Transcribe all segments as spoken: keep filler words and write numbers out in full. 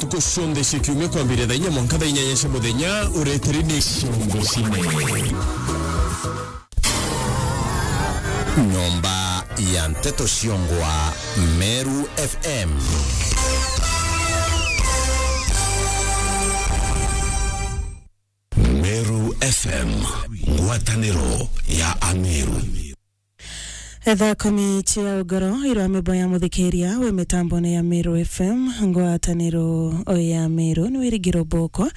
Ntuku cionthe cia kiumia kwambiria thaa inya mwanka thaa inyanya cia muthenya, ureteri ni Ciongo Cine. Nyomba ya Nteto Ciongwa, Meru F M. Meru F M, ngwataniro ya Ameru. Thaa kumi cia ugoro irwa mibo ya muthikiria wi mitambone ya Meru F M, ngwataniro ya Meru, ni wirigiro boko,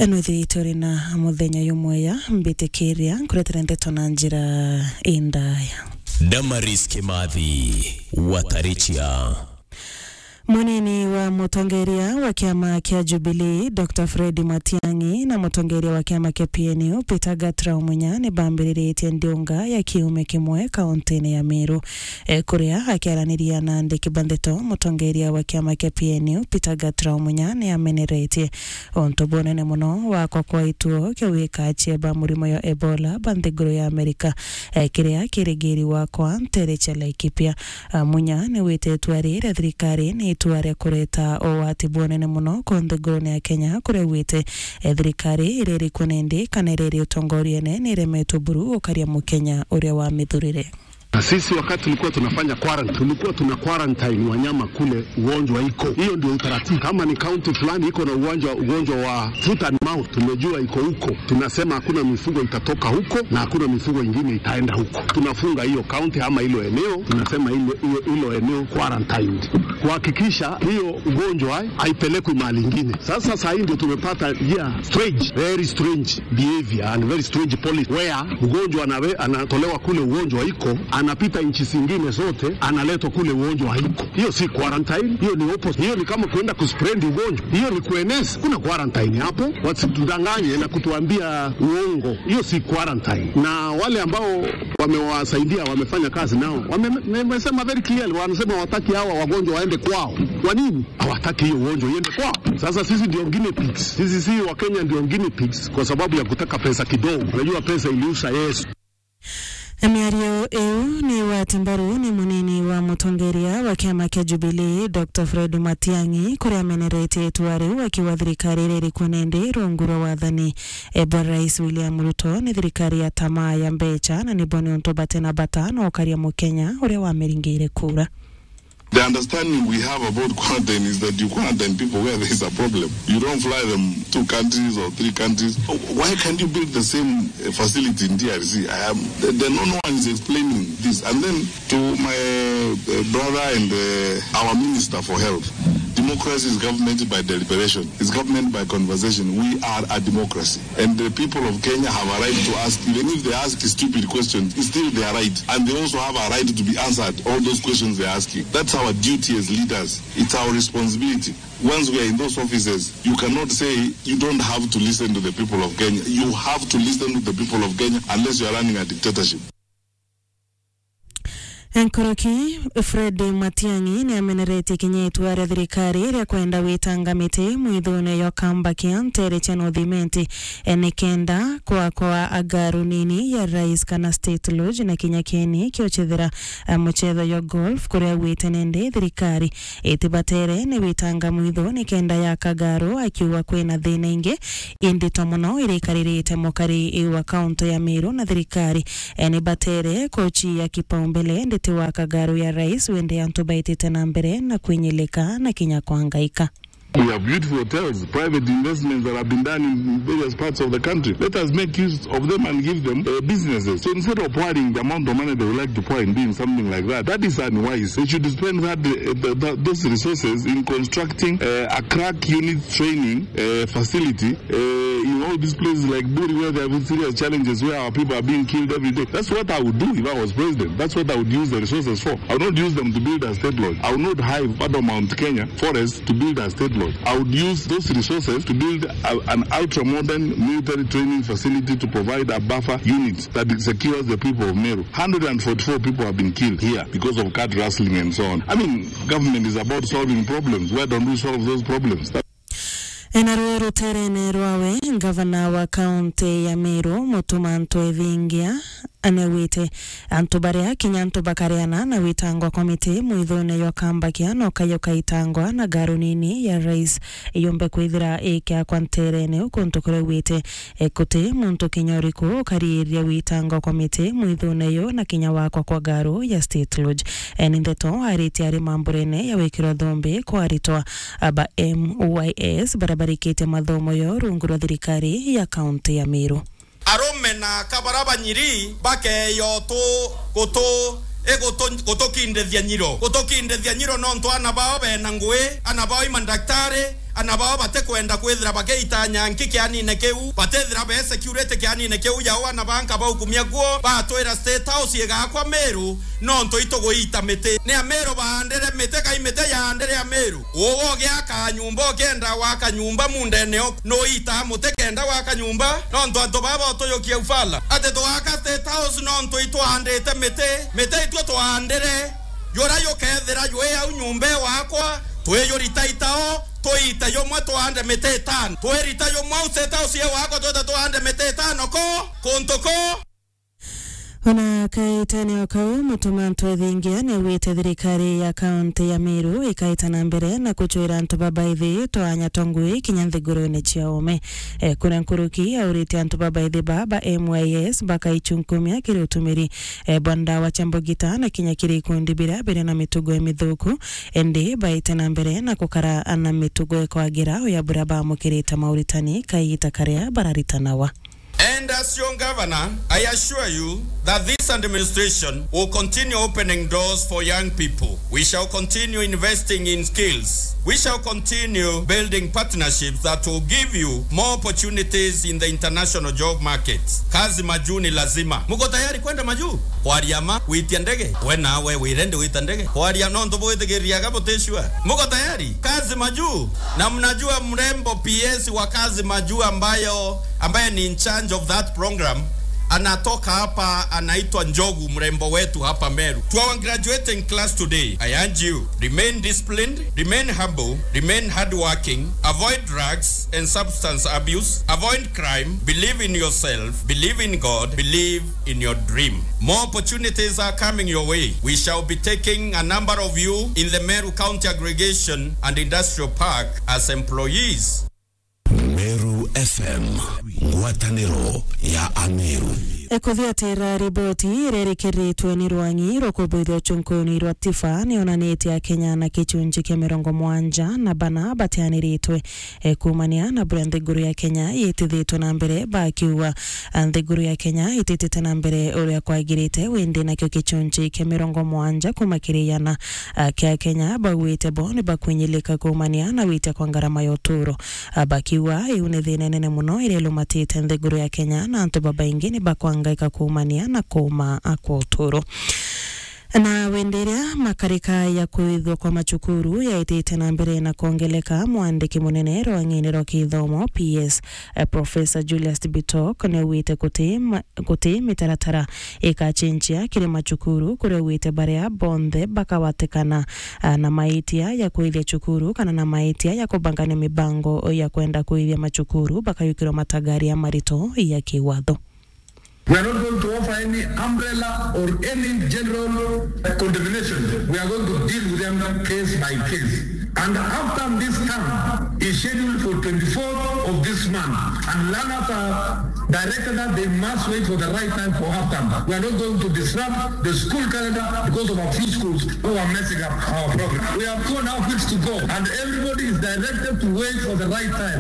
nwithiritwe uri na muthenya jumwega, mbitikiria nkuretere ndeto na njira indaya. Damaris Kimathi, Watarichia. Munini wa mutongeria wa kiama kia Jubilee, Doctor Fred Matiang'i, na mutongeria wa kiama kia P N U, Peter Gatrau Munya, ni bambiriritie ndiunga ya kiumia kimwe kauntine ya Meru. E, kuria akiaraniria na andiki ba ndeto, mutongeria wa kiama kia P N U, Peter Gatrau Munya, ni ameneretie untu bunene muno wa kwa kwa ituo kia wika cieba murimo ya Ebola ba nthiguru ya Amerika, e, kiria kirigiri wa kwa ntere cia Laikipia. A, Munya ni wite itua riri ria thirikari ni itua ria kureta ugwati bunene muno ku nthigurune ya Kenya, kuria wite, e, thirikari iria iri kuo nindi kana iria iri utongoriene ni iremetwe buru gukaria Mukenya uria wamithurire. Na sisi wakati tulikuwa tunafanya quarantine, tulikuwa tuna quarantine wanyama kule ugonjwa iko. Hiyo ndio utaratibu. Kama ni county fulani iko na ugonjwa, ugonjwa wa foot and mouth, tumejua iko huko. Tunasema hakuna mifugo itatoka huko na hakuna mifugo ingine itaenda huko. Tunafunga hiyo county ama hilo eneo, tunasema hilo, hiyo, hilo eneo quarantined. Kuhakikisha hiyo ugonjwa haipelekwi mahali ingine. Sasa saa hii ndio tumepata, yeah, strange, very strange behavior and very strange policy where mgonjwa anawe-, anatolewa kule ugonjwa iko, anapita nchi zingine zote, analetwa kule ugonjwa haiko. Hiyo si quarantine, hiyo ni opposite. Hiyo ni kama kuenda kuspread ugonjwa. Hiyo ni kueneza. Kuna quarantine hapo, wasitudanganye na kutuambia uongo. Hiyo si quarantine. Na wale ambao wamewasaidia, wamefanya kazi nao, wame-, wamesema very clearly, wanasema hawataki hawa wagonjwa waende kwao. Kwa nini? Hawataki hiyo ugonjwa iende kwao. Sasa sisi ndio guinea pigs. Sisi si wa Kenya ndio guinea pigs kwa sababu ya kutaka pesa kidogo. Unajua pesa iliusha Yesu. Miario iu ni wati mbaru ni munini wa mutongeria wa kiama kia Jubilee, Doctor Fred Matiang'i, kuria ameneretie itua riu akiuga thirikari iria iri kuo nindi rungu rwa wathani, e, bwa Rais William Ruto ni thirikari ya tamaa ya mbecha na nibo ni untu batena bata na ukaria Mukenya uria wamiringiire kura. The understanding we have about quarantine is that you quarantine people where there is a problem. You don't fly them two countries or three countries. Why can't you build the same, uh, facility in D R C? I am, the, the, no, no one is explaining this. And then to my, uh, brother and, uh, our Minister for Health, democracy is government by deliberation. It's government by conversation. We are a democracy. And the people of Kenya have a right to ask, even if they ask stupid questions, it's still their right. And they also have a right to be answered all those questions they're asking. That's our duty as leaders. It's our responsibility. Once we are in those offices, you cannot say you don't have to listen to the people of Kenya. You have to listen to the people of Kenya unless you are running a dictatorship. Nkoroki Fred Matiang'i ni ameneretie kinya itua ria thirikari ria kwenda gwitanga miti mwithune yo kamba kia ntere cia North Imenti, e, ni kenda kwakwa agaru nini ya rais kana State Lodge na kinya kieni kio chethera, e, muchetho yo golf, kuria augite nindi thirikari itibatere ni witanga mwithu ni kenda yaka garu, akiuga kwina thina ingi indito muno irikaririte mukari wa kaunti ya Meru na thirikari, e, ni batere kuchia kipaumbele nditi wa kagaru ya rais, wende antu baitite na mbere na kwinyilika na kinya kwangaika. We have beautiful hotels, private investments that have been done in various parts of the country. Let us make use of them and give them, uh, businesses. So instead of pouring the amount of money they would like to pour in doing something like that, that is unwise. They should spend that, uh, th- th- those resources in constructing, uh, a crack unit training, uh, facility, uh, in all these places like Buri, where they have serious challenges, where our people are being killed every day. That's what I would do if I was president. That's what I would use the resources for. I would not use them to build a state lodge. I would not hive part of Mount Kenya forest to build a state lodge. I would use those resources to build a, an ultra-modern military training facility to provide a buffer unit that secures the people of Meru. Hundred and forty-four people have been killed here because of card rustling and so on. I mean, government is about solving problems. Why don't we solve those problems? That Naruo ruterene rwawe, ngavana wa kaunti ya Meru, Mutuma Ntwethingia, anaugite antu baria kinya antu bakareana na witangwa kwa miti mwithune jwa Kambakia no kayo kaitangwa na ngaru nini ya rais yumbe kwithira ikiakwa nterene u kuntu kuria augite, e, guti muntu kinya uriku ukariiria witangwa kwa miti mwithune yo na kinya wakwa kwa ngaru ya State Lodge. E, ni ndeto aritie ari mamburene ya wikirwa thumbi kwa aritwa ba M Y S baria barikitie mathomo yo rungu rwa thirikari ya kaunti ya Meru. Arume na aka bara banyiri bakeyo tu-, gutu-, igutu-, gutukindithia nyiro. Gutukindithia nyiro nontu ana bao bena ngui, ana bao i mandaktari, ana bao batikwenda kwithira bagiita nyanki kianine kiu, batithira be security kianine kiu, yao ana banka baukumia kuo, batwira State House igakwa Meru, nontu ituguita miti. Ni Ameru baandire miti, kai miti yaandire Ameru? Uwe ugiaka nyumba, ukienda gwaka nyumba mundene uku, nuitaa muti kenda gwaka nyumba? Nontu antu baba utuyukia ufala ati tugaka State House nontu itwaandite miti. Miti itwe twaandire. Jura jukethira jwi au nyumba iwakwa, twijurita itao, tuite jumwe tuande miti itano. Twirita jumwe au State House iwakwa, twite tuande miti itano ko, kuntu ko. Ona kaitene o kau, Mutuma Ntwethingia niaugite thirikari ya kaunti ya Meru ikaita na mbere na kucwira antu ba baithi twanya twa ngui kinya nthigurune cia ume. E, kuna nkuruki aurite antu ba baithi ba, ba M Y S bakaichunkumia kiri utumiri, e, bwa ndawa cia mbugita na kinya kiri ikundi biria biri na mitugo imithuku, indi baite na mbere na gukara na mitugo ikwagira uya buria baamukirite mauritani kaita karia bararitanawa. And as your governor, I assure you that this administration will continue opening doors for young people. We shall continue investing in skills. We shall continue building partnerships that will give you more opportunities in the international job market. Kazi majuu ni lazima. Muko tayari kwenda majuu? Kwaria ma, gwitia ndege? We nawe wirende gwita ndege? Kwaria nontu bwithikiriria ga buticua. Muko tayari? Kazi majuu. Na mnajua mrembo P S wa Kazi Majuu ambayo, ambaye ni in charge of that program, anatoka hapa, anaitwa Njogu, mrembo wetu hapa Meru. To our graduating class today, I urge you, remain disciplined, remain humble, remain hardworking, avoid drugs and substance abuse, avoid crime, believe in yourself, believe in God, believe in your dream. More opportunities are coming your way. We shall be taking a number of you in the Meru County Aggregation and Industrial Park as employees. Meru F M, ngwataniro ya Ameru. E, kuthiatira riboti iria irikiritwe ni rwang'i rwa kubuithia uchunkuni rwa Tifa nionanitie Akenya na kichunji kia mirongo mwanja na bana batianiritwe e, kuumania na buria nthiguru ya Kenya yitithitwe na mbere, bakiuga, a, nthiguru ya Kenya ititite na mbere uria kwagirite, windi nakio kichunji kia mirongo mwanja kuuma kiri igana, a, kia Kenya bauite bo ni bakwinyilika kuumania na witia kwa ngarama ya uturo. A, bakiuga iu ni thina inene muno iria ilumatite nthiguru ya Kenya, na antu babaingi ni bakwangaika kuumania na kuuma, a, kwa uturo. Na windi iria makarika ya kuithwa kwa machukuru yaitite na mbere na kwongeleka, mwandiki munene rwang'ini rwa kithomo, P S, eh, Professor Julius Bitok, niaugite guti ma-, guti mitaratara ikachenjia kiri machukuru, kuria augite baria bonthe bakawatikana, ah, na maitia ya kuithia chukuru kana na maitia ya kubangania mibango ya kwenda kuithia machukuru bakayukirwa matagaria marito ya kiwatho. We are not going to offer any umbrella or any general condemnation. We are going to deal with them case by case. And after this term is scheduled for twenty-fourth of this month, and learners are directed that they must wait for the right time for half term. We are not going to disrupt the school calendar because of a few schools who are messing up our program. We have two and a half weeks to go, and everybody is directed to wait for the right time.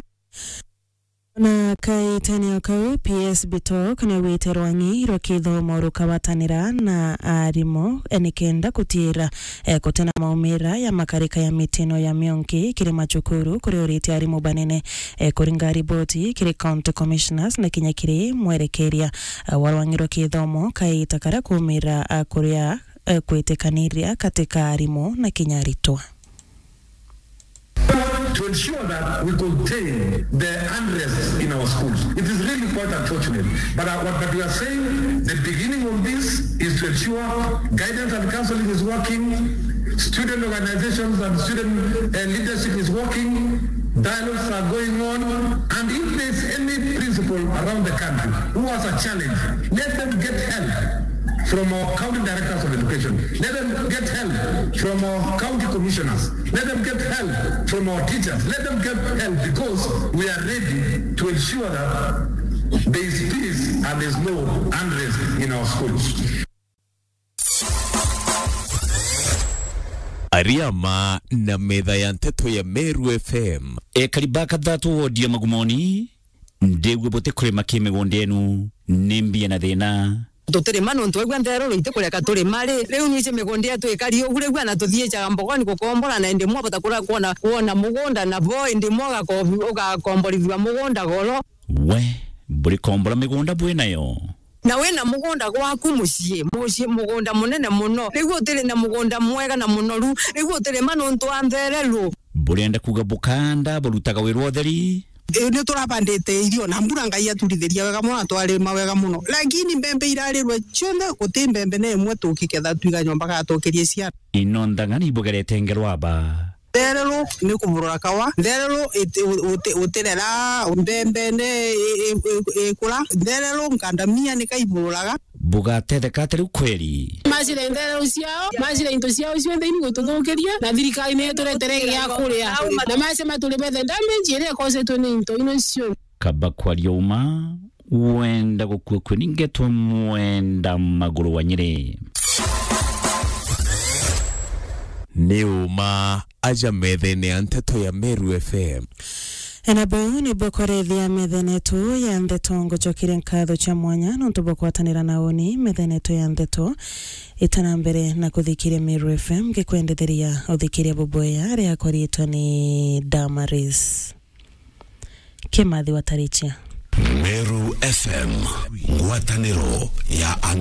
Na kaitene o kau, P S Bitok niaugite rwang'i rwa kithomo rukawatanira na arimu, eh, nikenda gutiira, eh, gutina maumira ya makarika ya mitino ya mionki kiri machukuru, kuria aurite arimu banene, eh, kuringa riboti kiri county commissioners na kinya kiri mwerekeria, eh, wa rwang'i rwa kithomo kaita karia kuumira, eh, kuria, eh, kwitikaniria katika arimu na kinya aritwa. To ensure that we contain the unrest in our schools. It is really quite unfortunate. But, uh, what, but we are saying the beginning of this is to ensure guidance and counseling is working, Student organizations and student, uh, leadership is working. Dialogues are going on. And if there's any principal around the country who has a challenge, let them get help from our county directors of education. Let them get help from our county commissioners. Let them get help from our teachers. Let them get help because we are ready to ensure that there is peace and there is no unrest in our schools. Ariama na metha ya nteto ya Meru F M. Ekari ba kathatu wodi ya Magumoni, ndiigua butikurima ki migunda yenu, ni mbia na thina. Tutirima nontu waigua ntheruru itikureka turima ri. Riu niji migunda yetu ikari ugu, riu ana tuthiijaga mbogoni gukombora, na indi mwa bota kura kwona, kwona mugunda na bo, indi mwa ugako-, ugakomborithua mugunda goro. We, buri kombora migunda bwi nayo? Na wina mugunda gwaku mucii, mucii, mugunda munene muno. Riu utiri na mugunda mwega na munoru. Riu utirima nontu wa ntheruru. Burenda kuuga bukanda burutaga wira wa utheri? Ii, ni turabandite irio na mbura Ngai aturithiria wega muno na twarima wega muno. Lakini mbembe irarirwe cionthe, guti mbembe na imwe tukiketha twiga nyomba gatukirie ciana. Ino nthang'ani ibugerete ngerwa ba? Ntheruru ni kuburura kawa. Ntheruru iti-, uti-, utirera mbembe ni i-, i-, i-, ikura. Ntheruru nkandamia ni kaibururaga. Bugatetheka atia riu kweri? Macira ntheruru ciao, macira into ciao cionthe ini gututhukiria, na thirikari ni ituretere gia kuria. Na mace maturi bethe damage iria ikosetwe ni into ino cio. Kaba kwaria uma, wenda gukua kwe ni ngetwa mwenda maguru wa Nyeri. Ni uma aja methene ya nteto ya Meru F M. Ena bau nibwo kwarethia methene yetu ya nteto. Ngucokeria nkatho cia mwanya nontu bwa kwatanira na uni methene yetu ya nteto. Itana mbere na kuthikiria Meru F M, ngikwendetheria uthikiria bubwea riakwa riitwa ni Damaris Kimathi wa Tarichia. Meru F M, ngwataniro ya